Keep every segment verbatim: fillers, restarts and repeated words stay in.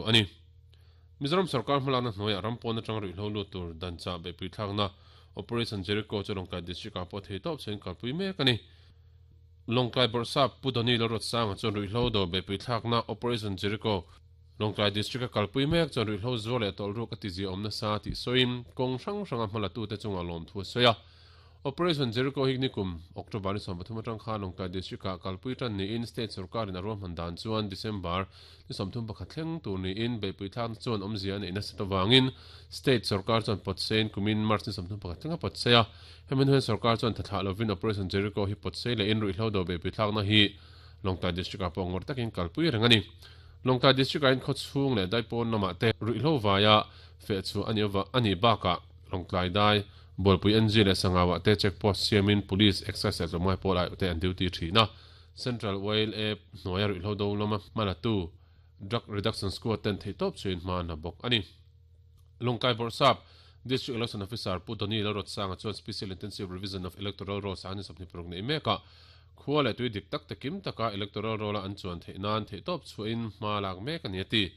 ani. Mizoram sarkar hmalakna hnuaiah ram pawn atanga ruihhlo lut tur dan chah beihpui thlakna Operation Jericho chu Lawngtlai District ah pawh thei tawp chhuahin kalpui mek a ni. Lawngtlai Bawrhsap Pu Doni Lalruatsanga chuan ruihhlo do beihpui thlakna Operation Jericho Lawngtlai District a kalpui mek chuan ruihhlo zuar leh tawlhruk a tizia awm nasa tih sawiin kawng hrang hranga hmalatute chungah lawmthu a sawi a. Operation Jericho hi nikum October ni sawm pathum atang khan Lawngtlai District ah kalpui tan niin State sorkarin a ruahman dan chuan December ni sawmthum pakhat thleng tur niin beihpui thlakna chuan awmzia a neih nasa avangin State sorkar chuan pawtsein kumin March ni sawmthum pakhat thleng a pawtsei a. Hemi hnuaiah sorkar chuan thathlah lovin Operation Jericho hi pawtsei lehin ruihhlo do beihpui thlakna hi Lawngtlai District ah pawh ngawrh takin kalpui reng a ni. Lawngtlai District ah hian khawchhung leh daipawn lamah te ruihhlo vaia feh chhuah a nih a nih bakah Lawngtlai dai Bualpui N G leh Sangauah te check post siamin Police, Excise leh tlawmngai pawl ah te an duty thin a. Central Oil A hnuaia ruihhlo do lama hmalatu Drug Reduction Squad ten theihtawp chuin hma an la bawk a ni. Lawngtlai Bawrhsap, District Election Officer Pu Doni Lalruatsanga chuan Special Intensive Revision of Electoral Rolls a ni sawmhnih paruk neih mekah khua leh tui dik tak te kim taka electoral roll a an chuan theih nan theihtawp chhuahin hma lak mek a ni a ti.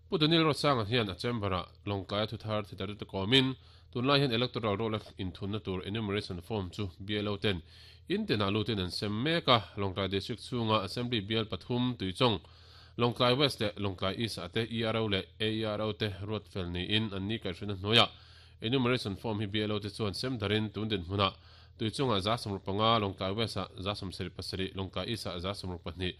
Pu Doni Lalruatsanga hian a chamber-ah Lawngtlaia thuthar thidar te kawmin tunlai hian electoral roll a inthunna tur enumeration form chu B L O ten intinah lutin an sem mek a. Lawngtlai District chhunga Assembly bial pathum Tuichawng, Lawngtlai West leh Lawngtlai East ah te E R O leh A E R O te ruat fel niin an ni kaihhruina hnuaiah enumeration form hi B L O te chuan sem darin tun dinhmunah Tuichawngah za sawmruk panga, Lawngtlai West ah za sawmsarih pasarih, Lawngtlai East ah za sawmruk pahnih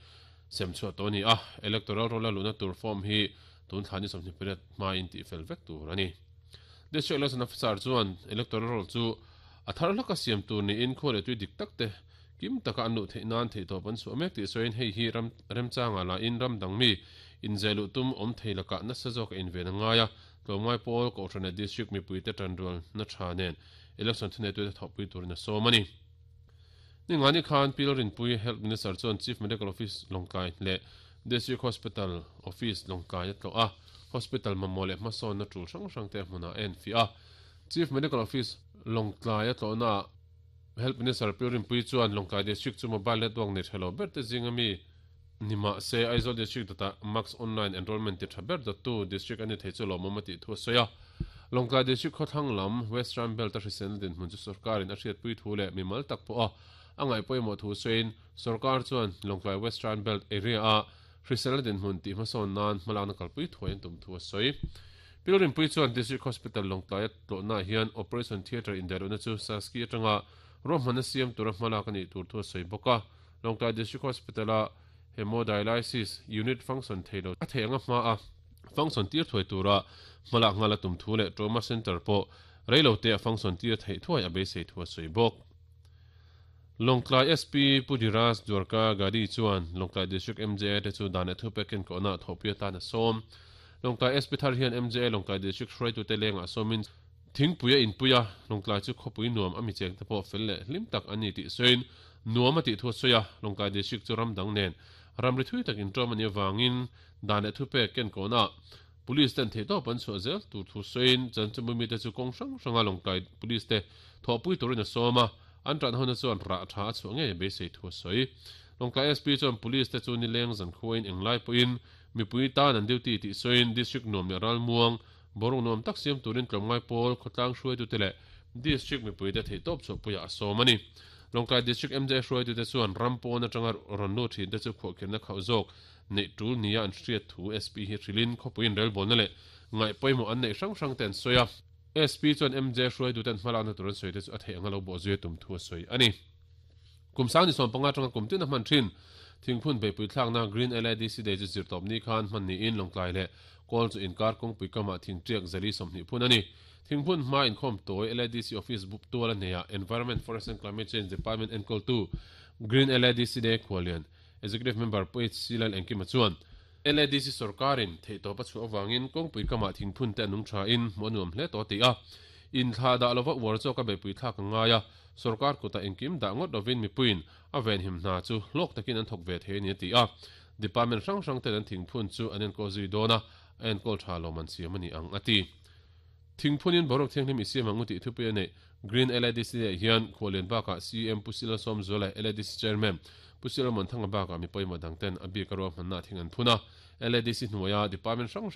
sem chhuah tawh a ni a. Electoral roll a luhna tur form hi tun thla ni sawmhnih pariat hmain tihfel vek tur a ni. District Election Officer chuan electoral roll chu a thar hlaka siam tur niin khua leh tui dik tak te kim taka an luh theih nan theihtawp an chhuah mek tih sawiin hei hi ram remchanga lahin ram dang mi inzeh luh tum awm thei lakah nasa zawk a inven a ngai a. Tlawmngai pawl Kohhran leh District mipuite tanrual na tha nen election thuneitute thawhpui turin a sawm a ni. Ningani khan Pi Lalrinpui Health Minister chuan Chief Medical Office Lawngtlai leh District Hospital Office Lawngtlai a tlawh a, Hospital mamawh leh hmasawnna tul hrang hrang te hmunah a enfiah a. Chief Medical Office Lawngtlai a tlawhnaah Health Minister Pi Rinpui chuan Lawngtlai District chu mobile network nei tha lo ber te zinga mi ni mah se Aizawl District dawtah Max Online Enrollment ti tha ber dawttu District a ni thei chu lawmawm a tih thu a sawi a. Lawngtlai District khawthlang lam Western Belt a hriselna dinhmun chu sorkarin a hriatpui thu leh mimal tak pawh a a ngaihpawimawh thu sawiin sorkar chuan Lawngtlai Western Belt area a hriselna dinhmun tih hmasawn nan hmalakna kalpui thuai an tum thu a sawi. Pi Rinpui chuan District Hospital Lawngtlaia tlawhnaah hian Operation Theatre indaihlohna chu Saski atanga ruahmanna siam tura hmalak a nih tur thu a sawi bawk a. Lawngtlai District Hospital-a Hemodialysis Unit function thei lo a theih anga hma a function tir thuai tura hmalak nghal a tum thu leh Trauma Centre pawh reilote a function tir theih thuai a beisei thu a sawi bawk. Lawngtlai S P Pu Dhiraj Dwarka Gadi chuan Lawngtlai District M J A te chu dan leh thupek enkawhna ah thawhpui atan a sawm. Lawngtlai S P thar hian M J A Lawngtlai District hruaitute lengah sawmin thingpui a inpui a, Lawngtlai chu khawpui nuam a mi chengte pawh fel leh hlim tak an ni tih sawiin nuam a tih thu a sawi a, Lawngtlai District chu ram dang nen ramri thui tak inṭawm a nih avangin dan leh thupek enkawhna ah Police ten theihtawp an chhuah zel tur thu sawiin chanchinbu mite chu kawng hrang hranga Lawngtlai Police te thawhpui turin a sawm a, an tan hona chuan rah tha a chhuah ngei a beisei thu a sawi. Lawngtlai S P chuan Police te chu nileng zankhuain englai pawhin mipui tan an duty tih sawiin District nuam leh ralmuang boruak nuam tak siam turin tlawmngai pawl khawtlang hruaitute leh District mipuite theihtawp chhuahpuiah a sawm a ni. Lawngtlai District M J hruaitute chuan ram pawn atanga rawn lut thinte chu khuahkhirhna khauh zawk neih tul nia an hriat thu S P hi hrilhin khawpuiin relbawlna leh ngaihpawimawh an neih hrang hrang te an sawi a. S P chuan M J hruaituten hmalakna tur an sawi te chu a theih anga lo bawh zui a tum thu a sawi a ni. Kum sang ni sawm panga atanga kum tin a hman thin thingphun beihpui thlakna Green L A D C Day chu zirtawp ni khan hman niin Lawngtlai leh Kawl chu inkar kawngpui kamah thingtiak zali sawmhnih phun a ni. Thingphun hma inkhawm tawi L A D C Office bup tual a hneah Environment, Forest and Climate Change Department enkawltu Green L A D C Day khuallian Executive Member Pu H C Lal Engkima chuan L A D C sorkarin theihtawp a chhuah avangin kawngpui kamah thingphun te a nung thain hmuh a nuam hle tawh a ti a. Inthlah dah lova uar zawk a beihpui thlak a ngai a, sorkar kutah engkim dah ngawt lovin mipuiin a venhim hna chu hlawk takin an thawk ve thei a ni a ti a. Department hrang hrang ten an thingphun chu an enkawl zui dawn a, a enkawl tha lo man siam a ni ang a ti. Thingphunin boruak thianghlim i siam ang u tih thupui a neih Green L A D C ah hian Khuallian bakah C M Pu Sila Sawmzuala L A D C Chairman Pu Sila Monthanga bakah mi pawimawh dang ten a bik a ruahmanna thing an phun a. L A D C hnuaia department hrang hrang